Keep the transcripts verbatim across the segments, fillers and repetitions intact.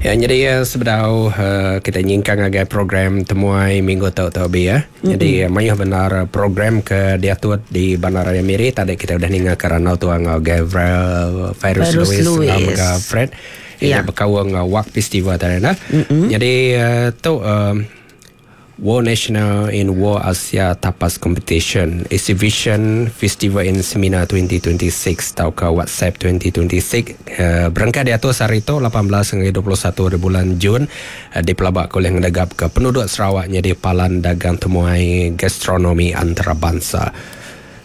Ya, jadi ya, sebedau uh, kita nyingkang ngagai program temuai minggu tu tu bi ya. Mm-hmm. Jadi mayuh benar program ke diatur di Bandaraya Miri. Tadi kita udah ninga kerana tu ngau Gabriel Fairuz Fairuz Lewis Lewis. ngau mega Fred. Ya. Ya. Berkawang ngau Wak Festival tadi nah. Mm-hmm. Jadi uh, tu um, World National in World Asia Tapas Competition Exhibition Festival in Seminar dua ribu dua puluh enam atau ke WhatsApp dua ribu dua puluh enam uh, berangkat di atas hari itu lapan belas hingga dua puluh satu di bulan Jun uh, di Pelabak oleh ngedegap ke penduduk Sarawak jadi palan dagang temuai gastronomi antarabangsa.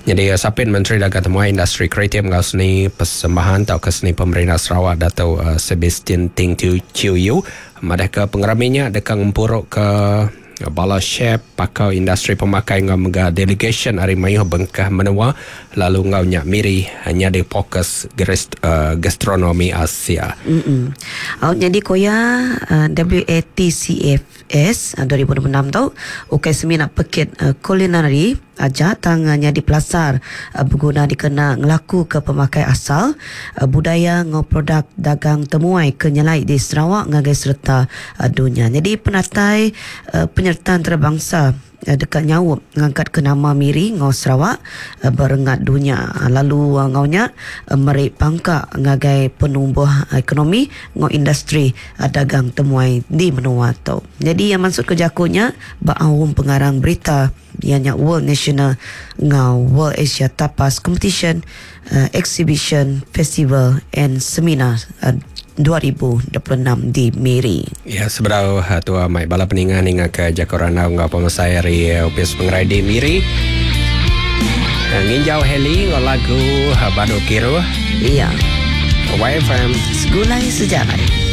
Jadi uh, Sapit Menteri Dagang Temuai, Industri Kreatif ngau Seni Persembahan atau ke Seni Pemerintah Sarawak, Dato' uh, Sebastian Ting Chiu Yu madah ke pengeraminya dekat ngempuruk ke bala chef, pakar industri pemakai ngau mega delegation ari mayuh bengkah menua, lalu ngau nyak Miri hanya di fokus uh, gastronomi Asia. Mm-mm. Oh, jadi koya uh, W A T C F S uh, dua ribu dua puluh enam tu ukai semina pekit uh, kulinari aja, tangannya di pelasar uh, berguna dikena ngelaku ke pemakai asal, uh, budaya ngau produk dagang temuai ke nyelai di Sarawak ngagai serta uh, dunia. Jadi penatai uh, penyerta antarabangsa uh, dekat nyawup ngangkat ke nama Miri ngau Sarawak uh, berengat dunia, lalu uh, ngaunya uh, merik pangkak ngagai penumbuh ekonomi ngau industri uh, dagang temuai di menua tu. Jadi yang maksud kejakunya baawum pengarang berita ianya World National ngau World Asia Tapas Competition uh, Exhibition Festival and Seminar uh, dua ribu dua puluh enam di Miri. Ya, seberau uh, tua mai bala peningan hingga ke Jakarta ngau pemasai hari uh, Upis Pengerai di Miri. Uh, nginjau heli ngau lagu uh, Badu Kiru. Iya. Y F M. Segulai Sejarah.